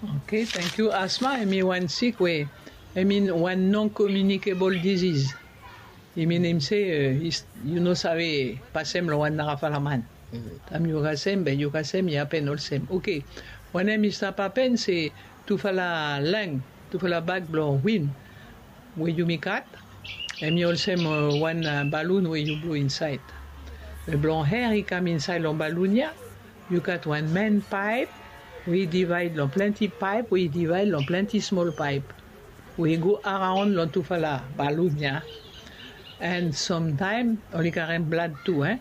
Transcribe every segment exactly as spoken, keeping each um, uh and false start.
Okay, thank you. Asthma, I mean, wan sik we, I mean, wan non-communicable disease. I minim se, uh, yu no save pasem long wan narafala man. Taem yu kasem, be yu kasem, i hapen olsem. Okay, wanem i stap hapen se tufala lang, tufala bag blong win we yumi gat, hemi olsem, uh, wan, uh, balun we yu blo insaed. Be blong air i kam insaed long balun ya, yu gat wan men paep we i divaed long plenti paep we i divaed long plenti smol paep we i go araon long tufala balun ya. And samtaem oli karem blad tu, eh?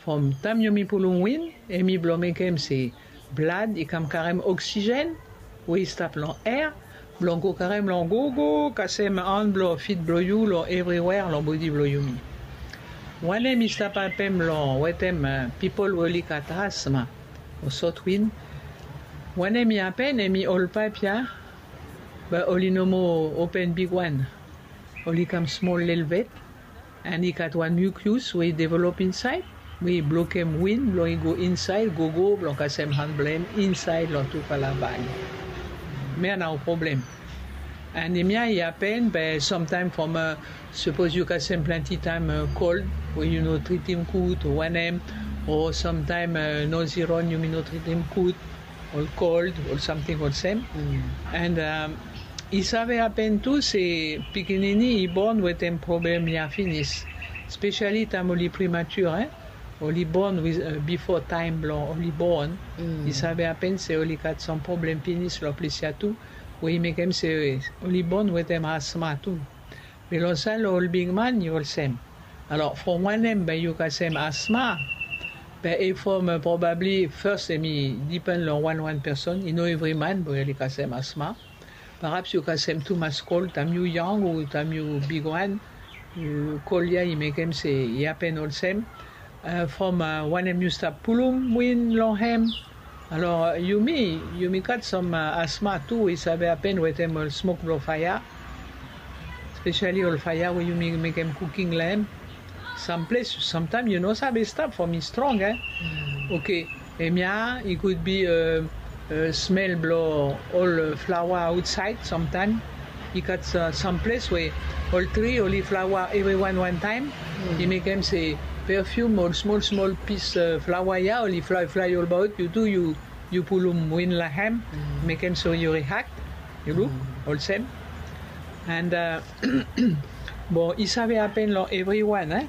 From taem yumi pulum win, hemi blo mekem se blad i kam karem oksigen we i stap long air, blong go karem long gogo, kasem han blong fit blong yu long evriwea long bodi blong yumi. Wanem i stap hapen long wetem, uh, pipol we oli gat asthma o sot win. Wanem i hapen, hemi ol paep ya, be oli no moa open bigwan. Oli kam smol lelebet. And i gat wan mucus we i develop insaed we i blokem win blong i go insaed gogo blong kasem han blong hem insaed long tufala bag. Hemia nao problem. And hemia i hapen be samtaem from, uh, sapos yu kasem plenti taem, uh, kold we yu no tritim gud o wanem, o samtaem, uh, noziron yumi no tritim gud, ol kold, ol samting olsem. And, um, i save hapen tu se pikinini i bon wetem problem ya finis, spesiali taem oli premature, eh? Oli bon with, uh, bifo taem blong oli bon. I save hapen se oli gat sam problem finis long ples ya tu, we i mekem se oli bon wetem asthma tu. Be long saed long ol bigman i olsem. Alor from wanem be yu kasem asthma? Be i from, uh, probably first hemi dipen long wan wan person, i no evri man we oli kasem asthma. Perhaps yu kasem tumas kold taem yu yang o taem yu bigwan, uh, kold ya i mekem se i hapen olsem. Uh, from, uh, wanem yu stap pulum win long hem. Alor, uh, yumi, yumi gat sam, uh, asthma tu we i save hapen wetem ol smok blong faea. Spesiali ol faea we yumi mekem kuking long hem. Sam ples, samtaem yu no save stap from i strong, eh? Okay. Hemia, i could be, uh, uh, smel blong ol, uh, flaoa aotsaed samtaem. I gat, uh, sam ples we ol tri oli flaoa evriwan wan taem. I mekem se perfume, ol smol smol pis, uh, flaoa ya oli flae flae olbaot, yu tu yu, yu pulum win long hem. Mekem se yu react, yu luk olsem. And, uh, bon, i save hapen long evriwan, eh?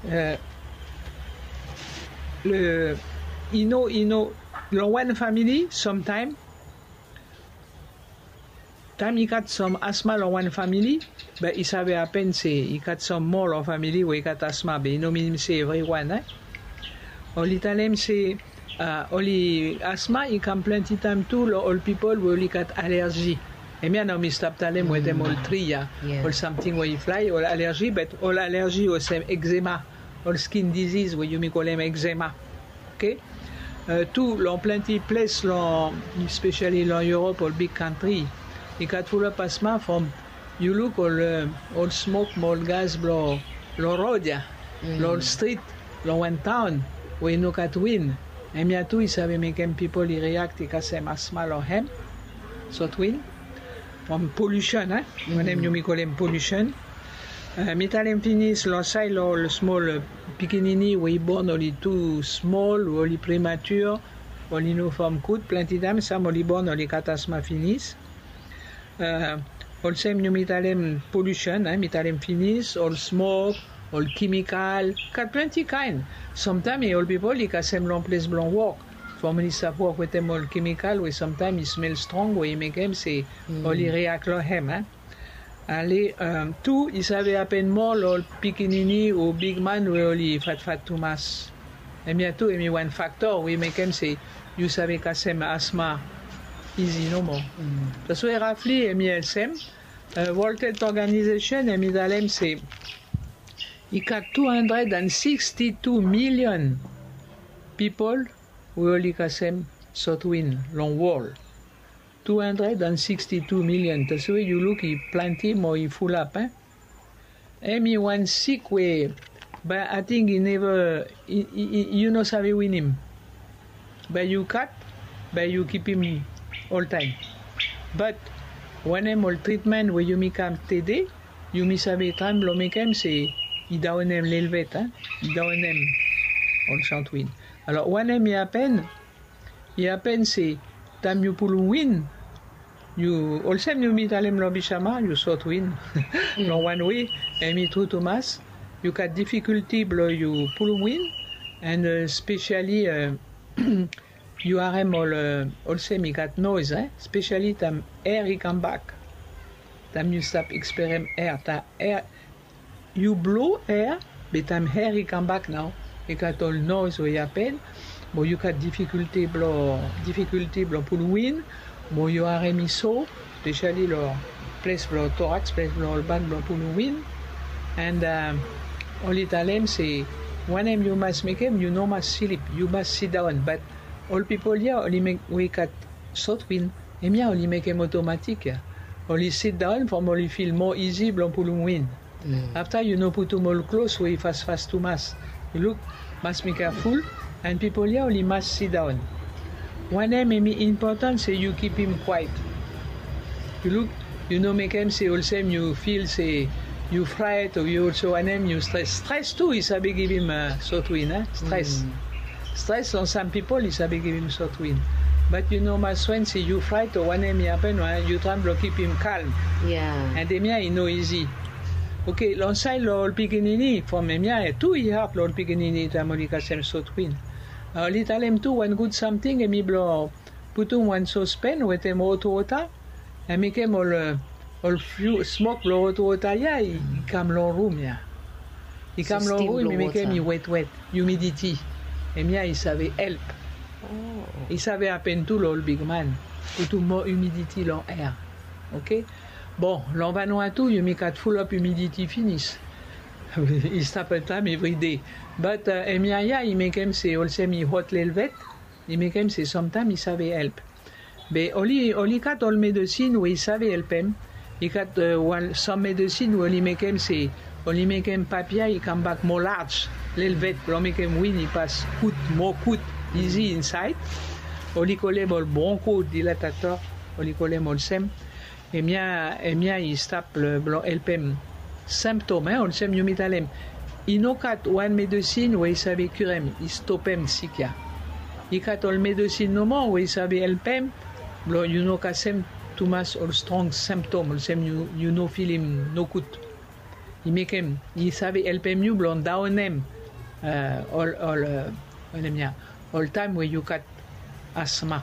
Uh, le, i no, i no, long wan famili samtaem, taem i gat sam asthma long wan famili, be i save hapen se i gat sam moa long famili we i gat asthma, be i no minim se evriwan, eh? Oli talem se, uh, oli asthma i kam plenti taem tu long ol pipol we oli gat alergi. Hemia nao mi stap talem wetem ol tri ya, ol samting we i flae, ol alergi, be ol alergi olsem eczema, ol skin disease we yumi kolem eczema. Okay? Uh, tu long plenti ples long, spesiali long Europe, ol big kantri, i gat fulap asthma from yu luk ol, uh, ol smok mo ol gas blong, long rod ya, long ol strit, long wan taon we i no gat win. Hemia tu i save mekem pipol i react, i kasem asthma long hem. Sot win. From pollution, eh? Wanem yumi kolem pollution. Uh, mi talem finis long saed long ol smol, uh, pikinini we i bon oli tu smol, oli premature, oli no fom gud, plenti taem sam oli bon oli gat asthma finis. Uh, olsem yumi talem pollution, eh, mi talem finis, ol smok, ol kemikal, gat plenti kaen. Samtaem i ol pipol i kasem long ples blong wok. From oli stap wok wetem ol kemikal we samtaem i smel strong we i mekem se oli react long hem, eh. Ale, um, tu i save hapen moa long ol pikinini o bigman we oli fatfat tumas. Hemia tu hemi wan fakto we i mekem se yu save kasem asthma izi nomo. Taswe roughly hemi olsem, uh, World Health Organization hemi talem se i gat two hundred and sixty-two million pipol we oli kasem sotwin long wol. Two hundred and sixty-two million. Taswe yu luk i plante mo i fulap, eh? Hemi wan sik we bae ating i neva, i, i, i, yu no save winim. Bae yu gat, bae yu kipim oltaem. Bat wanem ol tritmen we yumi kam tede, yumi save traem blong mekem se i daonem lelebet, i daonem ol sotwin. Alor wanem i hapen? I hapen se taem yu pulum win, yu olsem yumi talem long bisama, yu sotwin long wan we, hemi tru tumas. Yu gat difikulti blong yu pulum win, and spesiali yu harem ol, olsem i gat noes, spesiali taem er i kambak. Taem yu stap eksperem er, taem er yu blo er, be taem er i kambak nao, i gat ol noes we i hapen. Mo yu gat difikulti blong, difikulti blong pulum win. Mo yu harem i so, spesiali long ples blong toraks, ples blong ol bak blong pulum win. And oli talem se wanem yu mas mekem, yu no mas slip, yu mas sidaon. Bat ol pipol ya oli mek we i gat sotwin, hemia oli mekem otomatik ya. Oli sidaon from oli fil moa isi blong pulum win. Afta yu no putum ol klos we i fasfas tumas. Yu luk, mas mi keaful. And pipol ya oli mas sidaon. Wanem hemi impotan se yu kipim kwaet. Yu luk, yu no mekem se olsem yu fil se yu fraet o yu olsem wanem, yu stres. Stres tu i save givim sotwin, stres. Stres long sam pipol i save givim sotwin. Bat yu no mas swen se yu fraet o wanem i hapen, yu traem blong kipim kalm. And hemia i no isi. Oke, long saed long ol pikinini, from hemia tu i had long ol pikinini taem oli kasem sotwin. Oli talem tu wan gud samting hemi blong putum wan sospen wetem hot wota, and mekem ol, ol smok blong hot wota ya i kam long rum ya. I kam long rum, i mekem i wetwet, humiditi. Hemia i save help. I save hapen tu long ol bigman. Putum moa humiditi long er. Oke. Bon, long Vanuatu yumi gat fulap humiditi finis. I stap oltaem, evride. Bat hemia ya i mekem se olsem i hot lelebet, i mekem se samtaem i save help. Be oli, oli gat ol medesin we i save helpem. I gat wan sam medesin we oli mekem se oli mekem papia i kambak moa laj lelebet blong mekem win i pas gud, moa gud, isi insaed. Oli kolem ol bronkodilatatò, oli kolem olsem. Hemia, hemia i stap blong helpem simptom, olsem yumi talem. I no gat wan medesin we i save kirem, i stopem sik ya. I gat ol medesin nomo we i save helpem blong yu no kasem tumas ol strong simptom, olsem yu, yu no filim nogud. I mekem, i save helpem yu blong daonem ol, ol, wanem ya, ol taem we yu gat asma.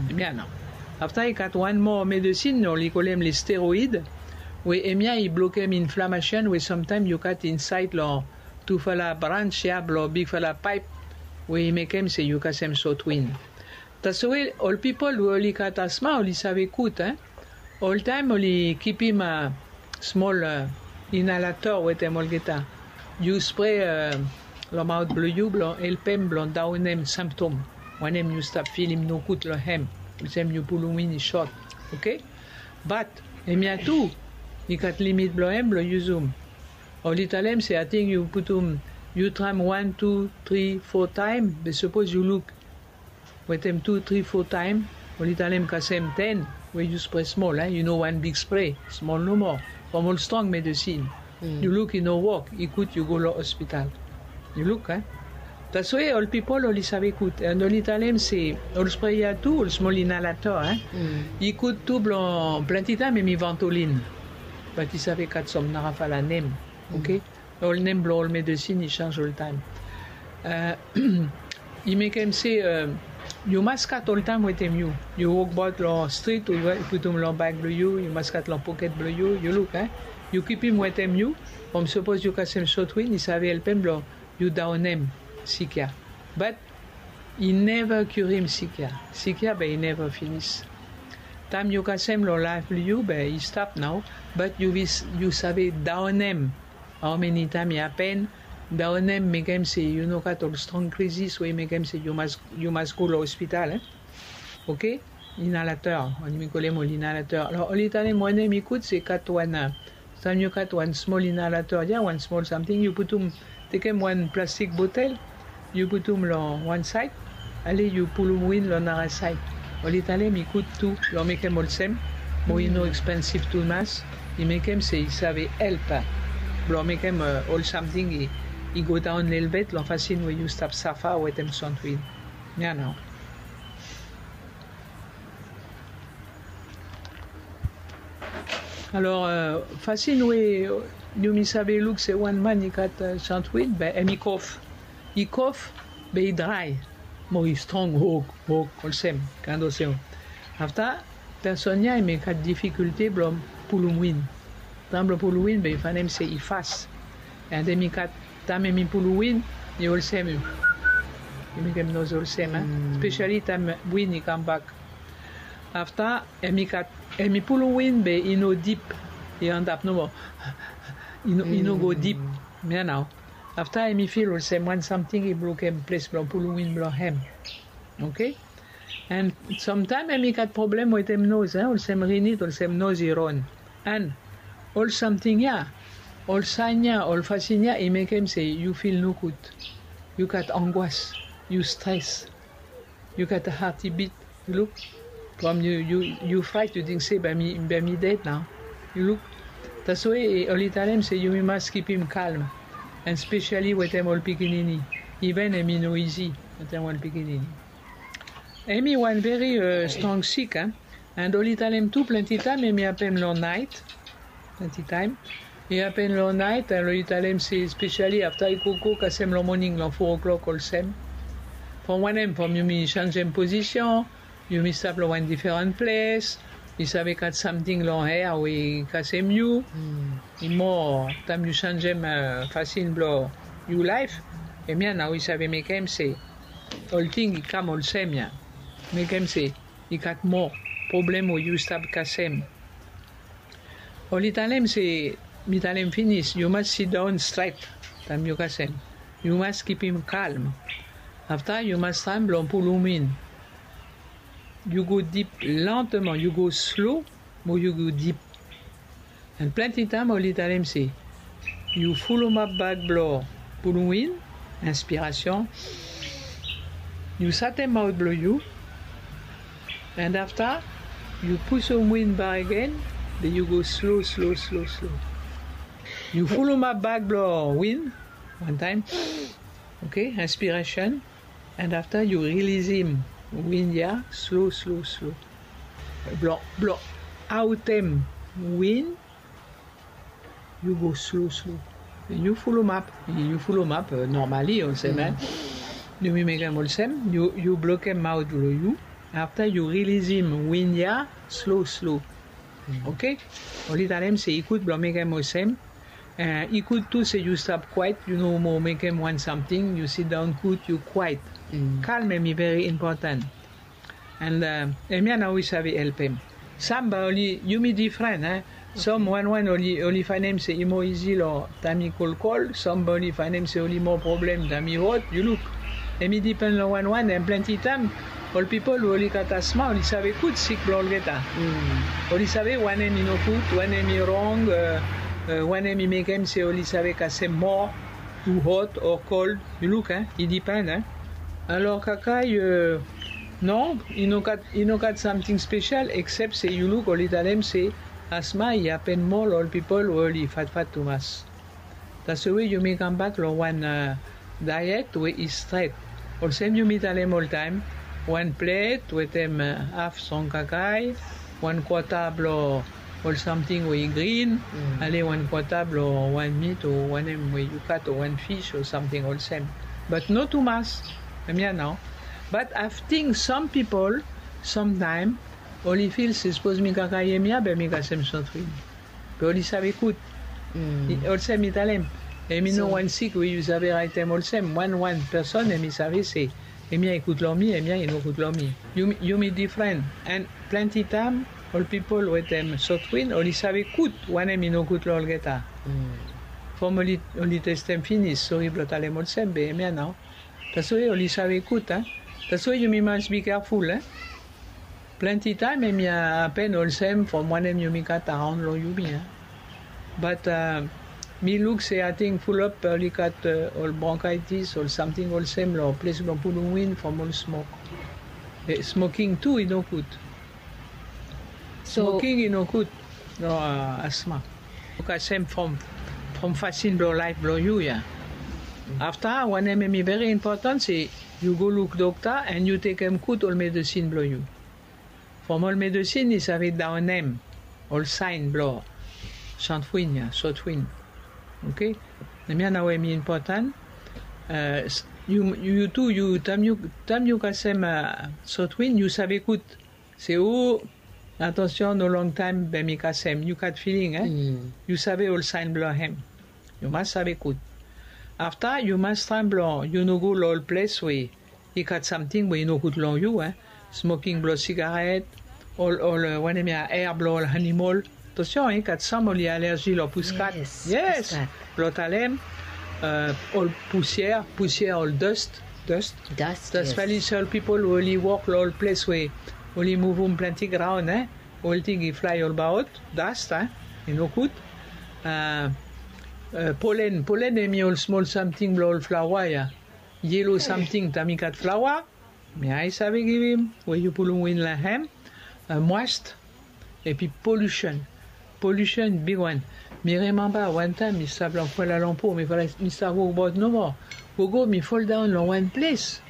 Hemia nao. Afta i gat wan moa medesin oli kolem le steroid, we hemia i blokem inflamasen we samtaem yu gat insaed long tufala brans ya blong bigfala paep, we i mekem se yu kasem sotwin. Taswe ol pipol we oli gat asma oli save gud, oltaem oli kipim smol inalator wetem olgeta. Yu spre long maot blong yu blong helpem blong daonem simptom. Wanem yu stap filim nogud long hem, olsem yu pulum win i sot. Oke? Bat hemia tu i gat limit blong hem blong yusum. Oli talem se ating yu putum, yu traem wan, tu, tri, fo taem, be sapos yu luk wetem tu, tri, fo taem, oli talem kasem ten, we yu spre smol, yu no wan big spre, smol nomo, from ol strong medesin. Yu luk i no wok, i gud yu go long hospital. Yu luk, taswe ol pipol oli save gud, and oli talem se ol spre ya tu, ol smol inalator, i gud tu blong plante taem hemi Ventolin. Bat i save gat sam narafala nem. Oke? Ol nem blong ol medesin i sanj oltaem. I mekem se yu mas gat oltaem wetem yu. Yu wokbaot long strit, yu putum long bag blong yu, yu mas gat long poket blong yu, yu luk, yu kipim wetem yu. From sapos yu kasem sotwin, i save helpem blong yu daonem sik ya. Bat i neva kiurim sik ya. Sik ya be i neva finis. Taem yu kasem long laef blong yu be i stap nao, bat yu save daonem. Hao meni taem i hapen, daonem mekem se yu no gat ol strong krizis we i mekem se yu mas, yu mas go long hospital, e? Oke? Inalator, oli, mi kolem ol inalator. Alor oli talem wanem i gud se gat wan, taem yu gat wan smol inalator ya, wan smol samting, yu putum, tekem wan plastik botel, yu putum long wan saed, ale yu pulum win long nara saed. Oli talem i gud tu blong mekem olsem, mo i no ekspensiv tumas. I mekem se i save help blong mekem ol samting i go daon lelebet long fasin we yu stap safa wetem santwin. Ya nao. Alor, fasin we yumi save luk se wan man i gat santwin, be hemi kof. I kof, be i drae. Mo i strong hok hok olsem, kaen olsem. Afta, person ya hemi gat difikulte blong pulum win. Taem blong pulum win be i fanem se i fas. And hemi gat, taem hemi pulum win, i olsem, i mekem noz olsem. Spesiali taem win i kambak. Afta, hemi gat, hemi pulum win be i no dip. I antap nomo. I no go dip. Ya nao. Afta hemi fil olsem wan samting i blokem ples blong pulum win blong hem. Oke. And samtaem hemi gat problem wetem noz, olsem rinit, olsem noz i ron. And ol samting ya, ol saen ya, ol fasin ya i mekem se yu fil nogud. Yu gat angwas, yu stres. Yu gat a hati bit. Yu luk. From yu, yu fraet, yu ting se bae mi ded nao. Yu luk. Taswe oli talem se yumi mas kipim kalm. And spesiali wetem ol pikinini. Iven hemi no izi wetem ol pikinini. Hemi wan veri strong sik. And oli talem tu plante taem hemi hapen long naet. Plante taem i hapen long naet, and oli talem se spesiali afta i gogo kasem long moning long fo o'klok olsem. From wanem? From yumi senjem pozisen, yumi stap long wan diferan ples, i save gat samting long air we i kasem yu. I moa taem yu senjem fasin blong yu laef, hemia nao i save mekem se olting i kam olsem ya. Mekem se i gat moa problem we yu stap kasem. Oli talem se, mi talem finis, yu mas sidaon stret taem yu kasem. Yu mas kipim kalm. Afta yu mas traem blong pulum in. Yu go dip lenteman, yu go slo, mo yu go dip. And plante taem oli talem se yu fulumap bak blong pulum in, inspirasyon. Yu satem maot blong yu. And afta yu pusum win bak agen, be yu go slo, slo, slo, slo. Yu fulumap bak blong win wan taem. Oke, inspirasyon. And afta yu rilisim win ya slo, slo, slo. Blong, blong aotem win, yu go slo, slo. Yu fulumap, yu fulumap normali olsem. Yumi mekem olsem, yu blokem maot blong yu. Afta yu rilisim win ya slo, slo. Oke? Oli talem se i gud blong mekem olsem. I gud tu se yu stap kwaet, yu no moa mekem wan samting, yu sidaon gud, yu kwaet. Kalm hemi veri impotan. And hemia nao i save helpem. Sam bae oli, yumi difren, e? Sam wan wan oli, oli faenem se i moa izi long taem i kolkol, sam bae oli faenem se oli moa problem taem i hot, yu luk. Hemi dipen long wan wan, and plante taem ol pipol we oli gat asma oli save gud sik blong olgeta. Oli save wanem i nogud, wanem i rong, wanem i mekem se oli save kasem moa, tu hot o kol, yu luk, e? I dipen, e? Alor kakae, no, i no gat, i no gat samting spesial, eksep se yu luk oli talem se asma i hapen moa long ol pipol we oli fatfat tumas. Taswe yumi kambak long wan daet we i stret. Olsem yumi talem oltaem, wan plet wetem haf strong kakae, wan kwata blong ol samting we i grin, ale wan kwata blong wan mit o wanem we yu gat o wan fis o samting olsem. Bat no tumas, hemia nao. Bat afting sam pipol, samtaem, oli fil se sapos mi kakae hemia be mi kasem sotrin. Be oli save gud. Olsem mi talem, hemi no wan sik we yu save raetem olsem. Wan wan person hemi save se hemia i gud long mi, hemia i no gud long mi. Yumi difren. And plante taem ol pipol wetem sotrin oli save gud wanem i no gud long olgeta. From oli testem finis, sori blong talem olsem, be hemia nao. Taswe oli save gud, e? Taswe yumi mas bi keaful, e? Plante taem hemia hapen olsem from wanem yumi gat araon long yumi, e? Bat mi luk se ating fulap oli gat ol bronkaitis, ol samting olsem long ples blong pulum win from ol smok. Smoking tu i no gud. Smoking i no gud long asma. Yu kasem from from fasin blong laef blong yu ya. Afta wanem em i veri impotan se yu go luk dokta and yu tekem gud ol medesin blong yu. From ol medesin i save daonem ol sain blong santwin ya sotwin. Oke. Em ya nao em i impotan. Yu tu yu taem yu kasem sotwin yu save gud se o, atansion no long taem be mi kasem yu gat filing e. Yu save ol sain blong hem. Yu mas save gud. Afta yu mas traem blong yu no go long ol ples we i gat samting we i no gud long yu e. Smoking blong sigaret, ol ol wanem ya air blong ol animol. Atansion i gat sam oli alerji long puskat. Yes. Blong talem ol pusier pusier ol dust dust. Dust. Especially ol pipol we oli wok long ol ples we oli muvum planti graon e. Olting i flae olbaot dust e. I no gud. Polen polen em i ol smol samting blong ol flaoa ya. Yelo samting taem i gat flaoa. Mi ae save givim we yu pulum win long hem. Moast. Epi polusen. Polusen bigwan. Mi remamba wantaem mi stap long kuala lumpur mi stap wokbaot nomo. Gogo mi foldaon long wan ples.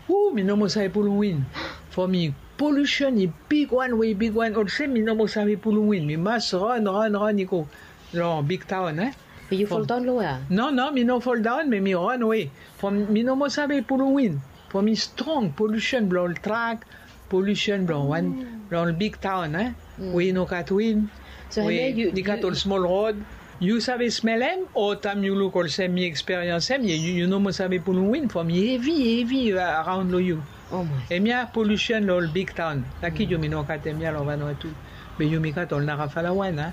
Hu mi no moa save pulum win. Fo mi polusen i bigwan we i bigwan olsem mi no moa save pulum win mi mas ran ran ran i go long bigtaon e. Be yu foldaon long wea? No no mi no foldaon be mi ran we. Fo mi no moa save pulum win. Fo mi strong polusen blong ol trak. Polusen blong wan blong ol bigtaon e. We i no gat win. So we i gat ol smol rod. Yu save smelem o taem yu luk olsem mi eksperians em yu no moa save pulum win fo mi hevi hevi araon long yu. Em ya polusen long ol bigtaon. Laki yumi no gat em ya long vanua tu. Be yumi gat ol narafala wan a.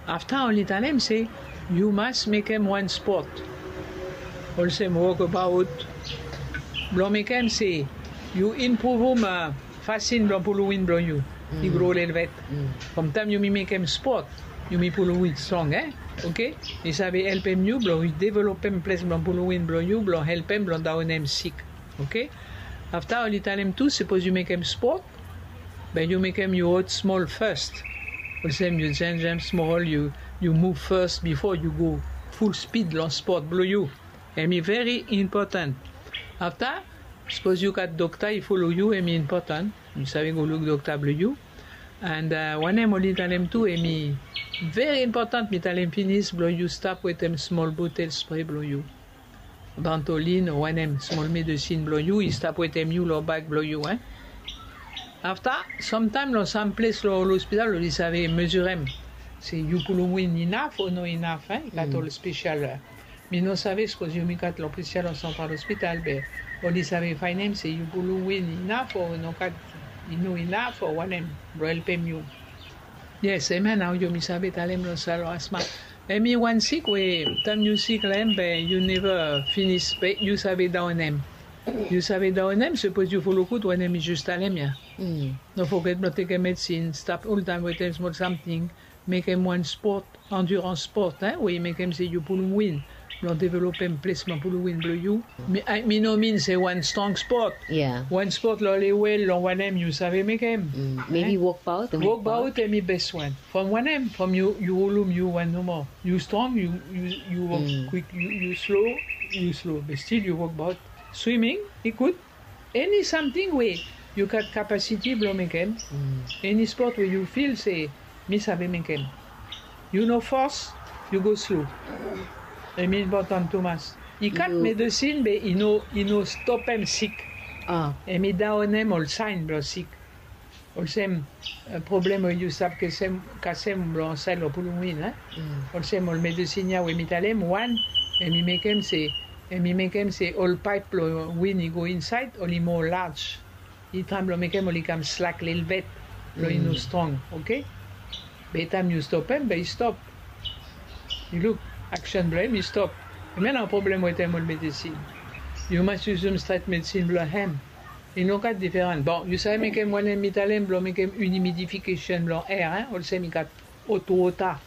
Afta oli talem se yu mas mekem wan spot. Olsem wokabaot blong mekem se yu impruvum fasin blong pulum win blong yu. I gro lelvet. From taem yumi mekem spot yumi pulum win strong e. Oke. I save helpem yu blong developem ples blong pulum win blong yu blong helpem blong daonem sik. Oke. Afta oli talem tu sipos yu mekem spot be yu mekem yu hot smol fas. Olsem yu jenjem smol yu yu muv fas bifo yu go ful spid long spot blong yu. Em i veri impotan. Afta sipos yu gat dokta i folo yu em i impotan. Yu save go luk dokta blong yu. And wanem oli talem tu em i veri impotan mi talem finis blong yu stap wetem smol botel spre blong yu. Bantolin o wanem smol medesin blong yu i stap wetem yu long bag blong yu e. Afta samtaem long sam ples long ol ospital oli save mezirem se yu pulum win inaf o no inaf e i gat ol spesial. Mi no save sapos yumi gat long spesial long santral ospital be oli save faenem se yu pulum win inaf o no gat i no inaf o wanem blong helpem yu. Yes em ya nao yumi save talem long sal long asma. Em i wan sik we taem yu sik long em be yu neva finis be yu save daonem. Yu save daonem sapos yu folo gud wanem mi jes talem ya. No foget blong tekem medisin stap oltaem wetem smol samting. Mekem wan spot andirans spot we i mekem se yu pulum win blong developem ples blong pulum win blong yu. Mi no min se wan strong spot. Wan spot long lewel long wanem yu save mekem. Mebi wokbaot. Wokbaot em i bes wan from wanem from yu yu holum yu wan nomo. Yu strong yu yu wok kwik yu slo. Yu slo be stil yu wokbaot. Swiming i gud. Eni samting we yu gat kapasiti blong mekem. Eni spot we yu fil se mi save mekem. Yu no fos yu go slo. Em i impotan tumas. I gat medesin be i no i no stopem sik. Em i daonem ol saen blong sik. Olsem problem we yu stap kasem kasem blong saed long pulum win a. Olsem ol medesin ya we mi talem wan em i mekem se em i mekem se ol paep blong win i go insaed oli moa laj. I taem blong mekem oli kam slak lelvet blong i no strong. Oke. Be taem yu stopem be i stop. Yu luk aksen blong em i stop. Em ya na problem wetem ol medesin. Yu mas yusum stret medesin blong hem. I no gat diferan. Bon yu save mekem wanem mi talem blong mekem inimidifikesen blong er a olsem i gat otwota.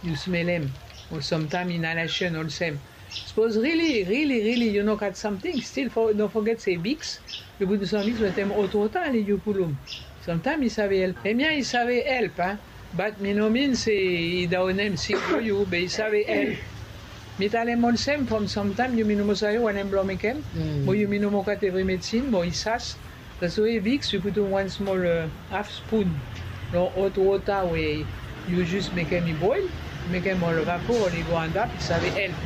Yu smelem o samtaem inalasen olsem. Sapos rili rili rili yu no gat samting, stil no foget se viks, yu putum sam viks wetem hot wota ale yu pulum. Samtaem i save help. Hemia i save help a. Bat mi no min se i daonem sik blong yu be i save help. Mi talem olsem from samtaem yumi no moa save wanem blong mekem, mo yumi no moa gat evri medisin mo i sas. Taswe viks yu putum wan smol haf spun long hot wota we yu jus mekem i boel, mekem ol vapo oli go antap i save help.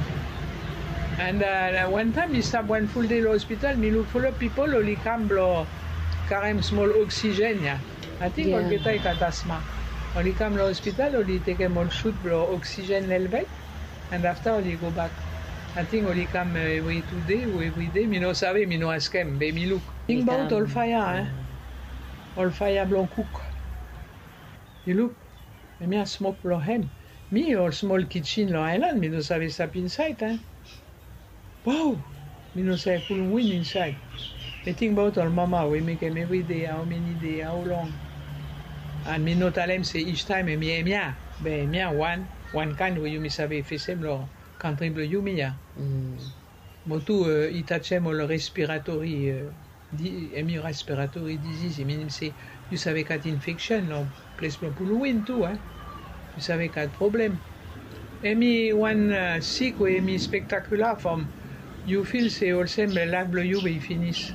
And wantaem mi stap wan ful dei long hospital mi luk fulap pipol oli kam blong karem smol oksigen ya. Ating olgeta i gat asma. Oli kam long hospital oli tekem ol sut blong oksigen lelebet. And afta oli gobak. Ating oli kam evri tu dei o evri dei mi no save, mi no askem be mi luk. Tingbaot ol faea a, ol faea blong kuk. Yu luk, hemia smok blong hem. Mi ol smol kijen long aelan mi no save stap insaed a. Wow. Mi no save pulum win insaed. Mi tingbaot ol mama we mekem evri dei, hao meni dei, hao long. And mi no talem se istaem hemi hemia, be hemia wan wan kaen we yumi save fesem long kantri blong yumi ya. Mo tu i tajem ol respiratori, hemi respiratori diziz i minim se yu save gat infeksen long ples blong pulum win tu a. Yu save gat problem. Hemi wan sik we hemi spektakula from yu fil se olsem laef blong yu be i finis.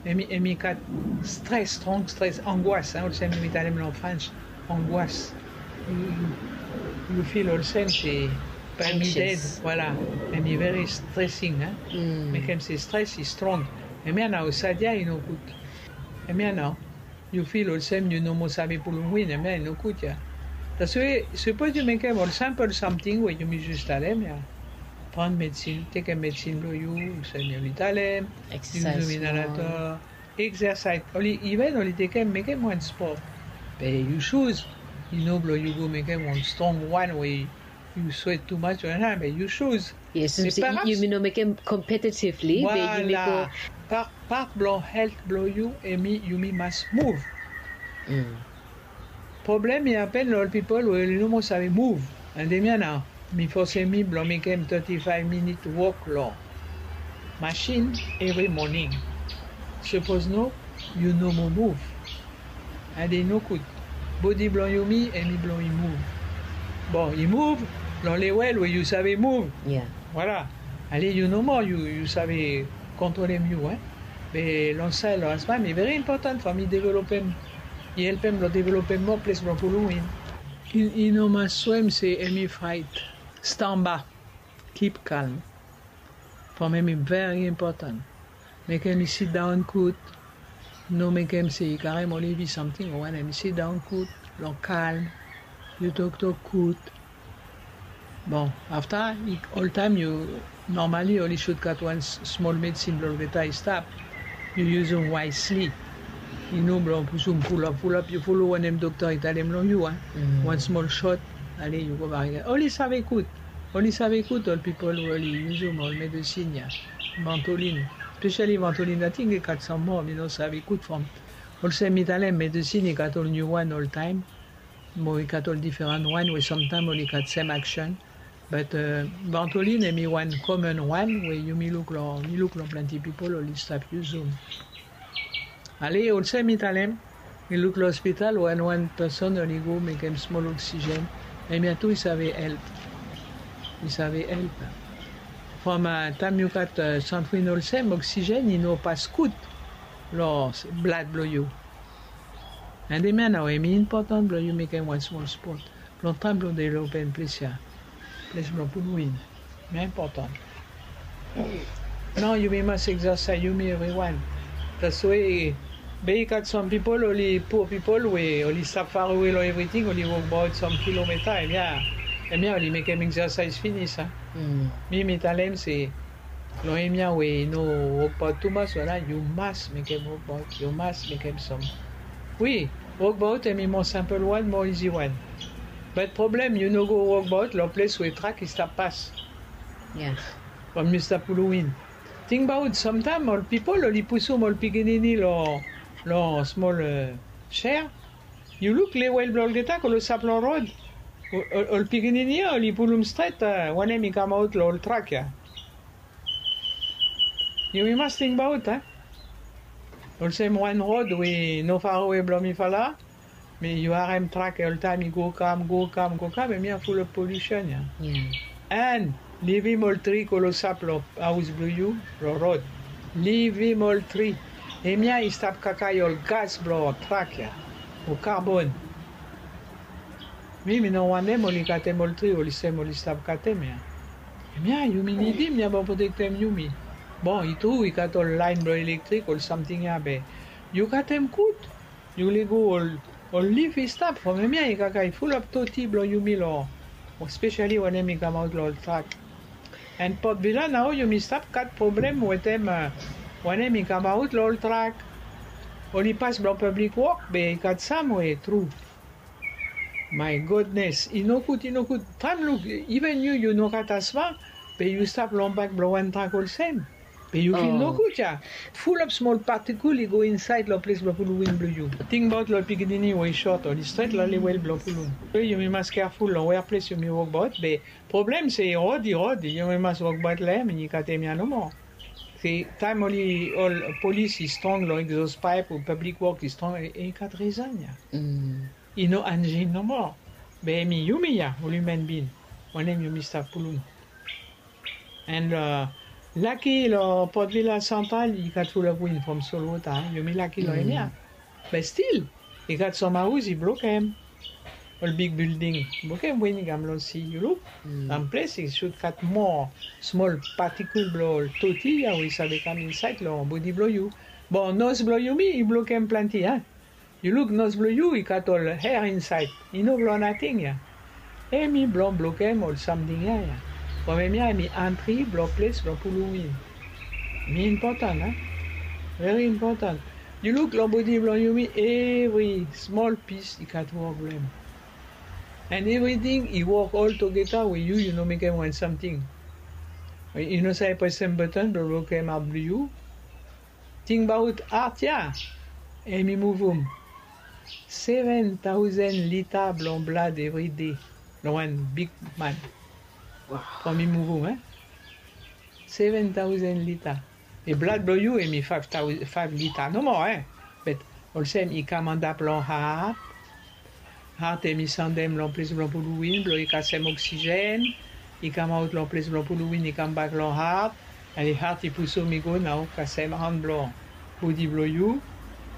Hemi gat stres, strong stres, angoas, olsem yumi talem long frans, angoas. Yu fil olsem se bae mi ded. Voilà. Hemi veri stresing. Mekem se stres i strong. Hemia nao sad ya i no gud. Hemia nao yu fil olsem yu no moa save pulum win, hemia i no gud ya. Taswe sapos yu mekem ol simpol samting we yumi jus talem ya, pran medisin, tekem medisin blong yu olsem yumi talem, yu yuzum inalator, eksersaes, oli iven oli tekem mekem wan spot. Be yu suz, i no blong yu go mekem wan strong wan we yu swet tumas o nana be yu suz. Yes. Yumi no mekem kompetitivli be yumi go. Pat blong helt blong yu hemi yumi mas muv. Problem i hapen long ol pipol we oli no moa save muv. And hemia nao mi fosem mi blong mekem teti faef minit wok long masin evri moning. Sapos no, yu no moa muv. And i no gud. Bodi blong yumi hemi blong i muv. Bon, i muv long lewel we yu save muv. Voilà. Ale yu no moa yu save kontrolem yu. Be long saed long asma hemi veri impotan from i developem, i helpem blong developem moa ples blong pulum win. I no mas swem se hemi fraet. Stamba. Kip kalm. From hemi veri impotan. Mekem i sidaon gud. No mekem se i karem ol evi samting o wanem. I sidaon gud long kalm. Yu toktok gud. Bon, afta oltaem yu, normali oli sud gat wan smol medisin blong olgeta i stap. Yu yuzum waesli. I no blong pusum fulap fulap, yu folem wanem dokta i talem long yu a. Wan smol sot, ale yu gobak. Oli save gud. Oli save gud ol pipol we oli yuzum ol medisin ya. Vantolin. Spesiali Vantolin, ating i gat sam moa mi no save gud from. Olsem mi talem, medisin i gat ol niu wan oltaem. Mo i gat ol diferan wan we samtaem oli gat sem aksen. Bat Vantolin hemi wan komen wan we yumi luk long, mi luk long plante pipol oli stap yuzum. Ale olsem mi talem, mi luk long ospital wan wan peson oli go mekem smol oksigen. Hemia tu i save help. I save help. From taem yu gat santrin olsem, oksigen i no pas gud long blad blong yu. And hemia nao hemi impotan blong yu mekem wan smol spot blong taem blong developem ples ya, ples blong pulum win. Hemia impotan. Nao yumi mas eksasaes, yumi evriwan. Taswe be i gat sam pipol, oli pua pipol we oli stap farewe long evriting, oli wokbaot sam kilometa, hemia, hemia oli mekem eksasaes finis a. Mi mi talem se long hemia we i no wokbaot tumas, wala yu mas mekem wokbaot, yu mas mekem sam. Wi, wokbaot hemi moa simpol wan, moa izi wan. Bat problem yu no go wokbaot long ples we trak i stap pas. From yu stap pulum win. Tingbaot samtaem ol pipol oli pusum ol pikinini long, long smol ser. Yu luk lewel blong olgeta klosap long rod. Ol pikinini ya oli pulum stret wanem i kamaot long ol trak ya. Yumi mas tingbaot a, olsem wan rod we no farewe blong mifala. Be yu harem trak ya oltaem i go kam go kam go kam, hemia fulap polusen ya. An livim ol tri klosap long haos blong yu, long rod. Livim ol tri. Hemia i stap kakae ol gas blong trak ya, o karbon. Mi mi no wantem oli katem ol tri olsem oli stap katem ya. Hemia yumi nidim ya blong protektem yumi. Bon, i tru i gat ol laen blong elektrik ol samting ya be yu katem gud. Yu lego ol lif i stap from hemia i kakae fulap toti blong yumi long, spesali wanem i kamaot long ol trak. An Port Vila nao yumi stap gat problem wetem wanem i kamaot long ol trak. Oli pas blong pablik wok be i gat sam we tru. My godnes, i nogud, i nogud. Taem luk, iven yu yu no gat asma, be yu stap long bak blong wan trak olsem, be yu fil nogud ya. Fulap smol patikul i go insaed long ples blong pulum win blong yu. Tingbaot long pikinini we i sot oli stret long lewel blong pulum. Yumi mas keaful long wea ples yumi wokbaot be problem se i rod i rod yumi mas wokbaot long hem i katem ya nomo. Se taem oli ol polis i strong long egzos paep o pablik wok i strong, i gat rizan ya. I no anjin nomo. Be hemi yumi ya ol hiuman bin wanem yumi stap pulum. An laki long Port Vila Santral i gat fulap win from solwota. Yumi laki long hemia. Be stil i gat sam haos i blokem. Ol big bilding i blokem win i kam long si. Yu luk, sam ples i sud gat moa smol patikul blong ol toti ya we i save kam insaed long bodi blong yu. Bon, nos blong yumi i blokem plante a. Yu luk nos blong yu i gat ol her insaed, i no blong nating ya. Hemi blong blokem ol samting ya ya. From hemia hemi antri blong ples blong pulum win. Hemi impotan a. Veri impotan. Yu luk long bodi blong yumi evri smol pis i gat wok blong hem. An evriting i wok oltogeta we yu yu no mekem wan samting. I no save presem batan blong blokem hat blong yu. Tingbaot hat ya. Hemi muvum seven taosen lita blong blad evride long wan bigman. From i muvum e seven taosen lita. Be blad blong yu hemi faef lita nomo e. Be olsem i kam antap long hat. Hat hemi sandem long ples blong pulum win blong i kasem oksijen. I kamaot long ples blong pulum win i kambak long hat. An i hat i pusum i go nao kasem han blong bodi blong yu.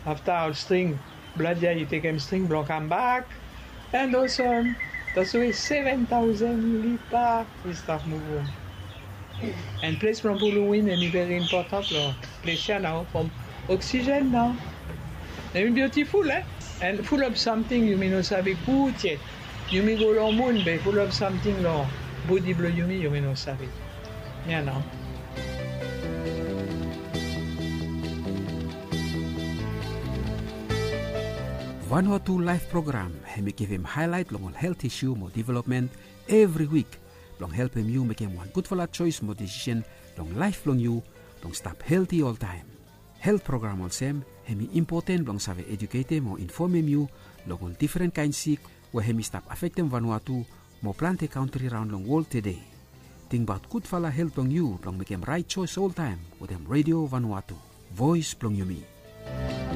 Afta ol string blad ya i tekem string blong kambak. An olsem taswe seven taosen lita i stap muvum. An ples blong pulum win hemi veri impotan long ples ya nao from oksijen nao. Hemi biotiful e. An fulap samting yumi no save gud yet. Yumi go long mun be fulap samting long bodi blong yumi yumi no save. Ya nao. Vanuatu Laef Program hemi givim haelaet long ol helt isu mo developmen evri wik blong helpem yu mekem wan gudfala joes mo desisen long laef blong yu blong stap helti oltaem. Helt program olsem hemi impoten blong save ejuketem o infomem yu long ol difren kaen sik we hemi stap afektem Vanuatu mo plante kantri raon long wol tede. Tingbaot gudfala helt blong yu blong mekem raet joes oltaem wetem Redio Vanuatu, voes blong yumi.